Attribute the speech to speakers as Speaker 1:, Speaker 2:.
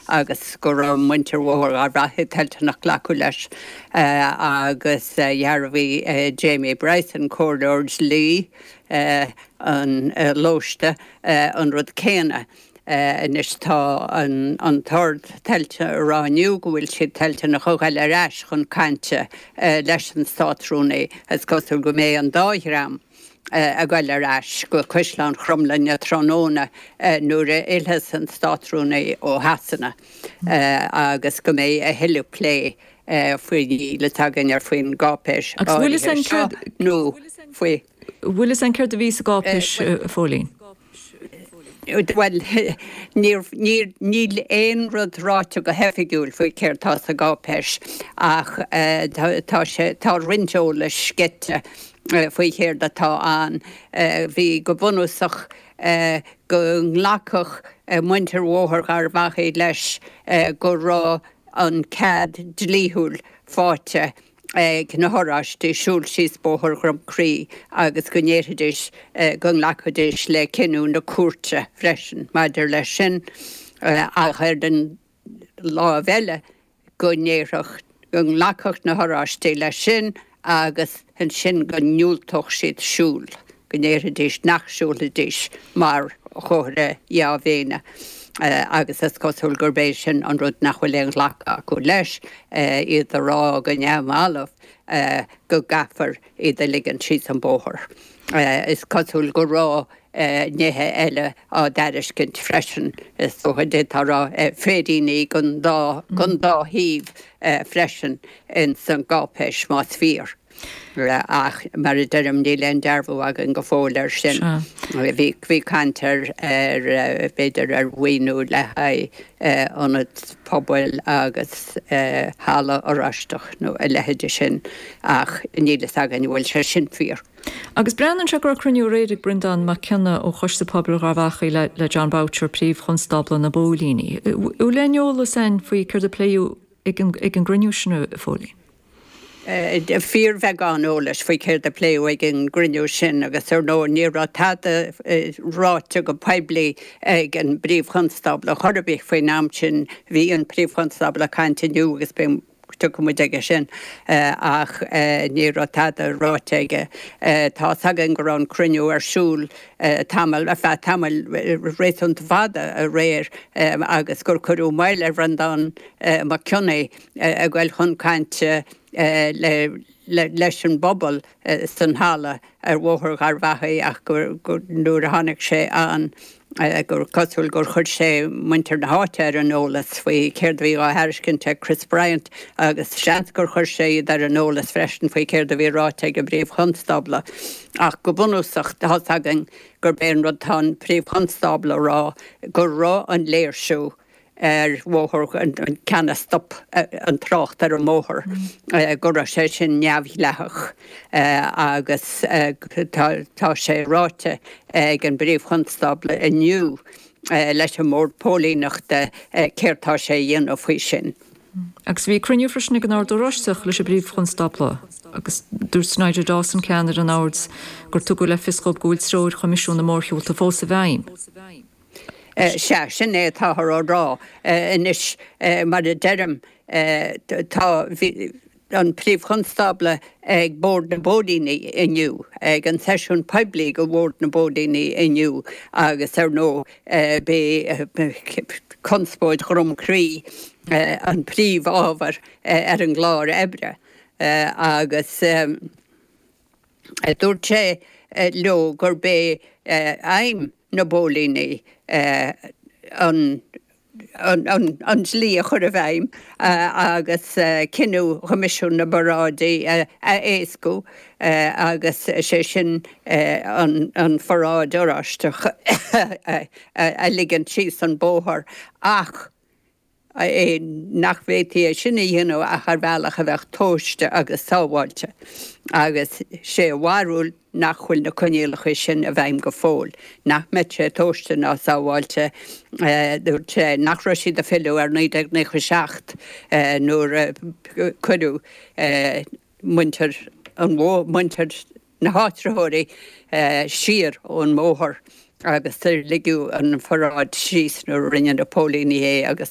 Speaker 1: agus go raibh muintir Bhóthar Gharbhachaidh toilteanach glacadh leis agus dhearbhaigh Jamie Bryson, comhairleoir dlí an Lóiste, an rud céanna. Anois tá an tOrd toilteanach a rá inniu go bhfuil siad toilteanach a ghoil ar ais chun cainte leis an Státrúnaí. Is cosúil go mbeidh an dá dhream ag goil ar ais go Caisleán Chromghlinne tráthnóna nuair a fhillfeas an Státrúnaí ó Shasana agus go mbeidh a thuilleadh plé faoi níl fhios againn ar faoin gcáipéis áirithe seo nó faoi.
Speaker 2: Bhfuil fhios againn céard a bhí sa gcáipéis, a Phóilín?
Speaker 1: Bhuel, níl aon rud ráite go hoifigiúil faoi céard tá sa gcáipéis ach tá sé, tá roinnt eolais sceite faoi chéard atá ann. Bhí go bunúsach go nglacfadh muintir Bhóthar Gharbhachaidh leis go raibh an cead dlíthiúil faighte ag na hOráistigh siúl síos Bóthar Dhroim Crí agus go ndéarfaidís go nglacfaidís le cinneadh na cúirte freisin maidir leis sin ach ar an láimh eile go ndéarfadh, go nglacfadh na hOráistigh leis sin agus ansin go ndiúltódh siad siúl, go ndéarfaidís nach siúlfaidís mar chomhartha dea-mhéine agus is cosúil gurb é sin an rud nach bhfuil aon ghlacadh acu leis, iad a rá go neamhbhalbh go gcaithfear iad a ligean síos an bóthar. Is cosúil go raibh nithe eile á dtairiscint freisin, is dócha, d'fhéadfá a rá, féiríní don dá thaobh freisin ins an gcáipéis, más fíor. Ach mar a deirim, níl aon dearbhú againn go fóill air sin. Bhí caint ar, b'fhéidir, ar mhaoiniú le haghaidh ionad pobail agus halla Oráisteach nó a leithéide sin ach níl fhios againn an bhfuil sé sin fíor.
Speaker 2: Agus breathnaíonn sé go raibh cruinniú aréir ag Breandán Mac Cionnaith ó Choiste Pobail Gharbhachaidh le le Jon Boutcher, Príomh-Chonstábla na bPóilíní. Bhfuil aon eolas againn faoi céard a pléadh ag an gcruinniú sin, a Phóilín?
Speaker 1: fíorbheagán eolais faoi céard a pléadh ag an gcruinniú sin agus ar ndóigh ní raibh tada ráite go poiblí ag an bPríomh-Chonstábla chor ar bith faoin am sin. Bhí an Príomh-Chonstábla ag caint inniu agus beidh, tiocfaidh muid aige sin ach ní raibh tada ráite aige. Tá's againn go raibh an cruinniú ar siúl tamall, ar feadh tamaill réasúnta fada aréir agus gur cuireadh moill ar Bhreandán Mac Cionnaith a ghoil chun cainte leis an bpobal san halla ar Bhóthar Gharbhachaidh ach gur nuair a tháinig sé ann gur cosúil gur chuir sé muintir na háite ar an eolas faoi céard a bhí á thairiscint ag Chris Bryant agus seans gur chuir sé iad ar an eolas freisin faoi céard a bhí ráite ag an bPríomh-Chonstábla. Ach go bunúsach tá's againn gurb é an rud tá an Príomh-Chonstábla a rá go raibh an léirsiú ar bhóthar an ceann a stop an trácht ar an mbóthar, go raibh sé sin neamhdhleathach agus tá sé ráite ag an bPríomh-Chonstábla inniu leis an mBord Póilíneachta céard tá sé a dhéanamh faoi sin.
Speaker 2: Agus bhí cruinniú freisin ag an Ord Oráisteach leis an bPríomh-Chonstábla agus dúirt Nigel Dawson, ceannaire an Oird, gur tugadh le fios dhóibh go bhfuil treoir Choimisiún na Mórshiúlta fós i bhfeidhm.
Speaker 1: Sea, sin é atáthar á rá. Anois, mar a deirim, tá, bhí an Príomh-Chonstábla ag Bord na bPóilíní inniu, ag an seisiún poiblí do Bhord na bPóilíní inniu agus, ar ndóigh, b'é conspóid Dhroim Crí an príomhábhar ar an gclár oibre agus. Dúirt sé leo gurb é aidhm na bpóilíní an an dlí a chur i bhfeidhm agus cinneadh Choimisiún na bParáidí a éascú agus sé sin an pharáid Oráisteach a ligean síos an bóthar ach é nach bhféadfaí é sin a dhéanamh ach ar bhealach a bheadh tomhaiste agus sábháilte, agus sé a bharúil nach bhfuil na coinníollacha sin i bhfeidhm go fóill, nach mbeadh sé tomhaiste ná sábháilte. Dúirt sé nach raibh siad ag filleadh ar 1997 nuair a cuireadh muintir an muintir na háitritheoirí siar ón mbóthar agus ligeadh an pharáid síos nuair a rinne na póilíní é agus.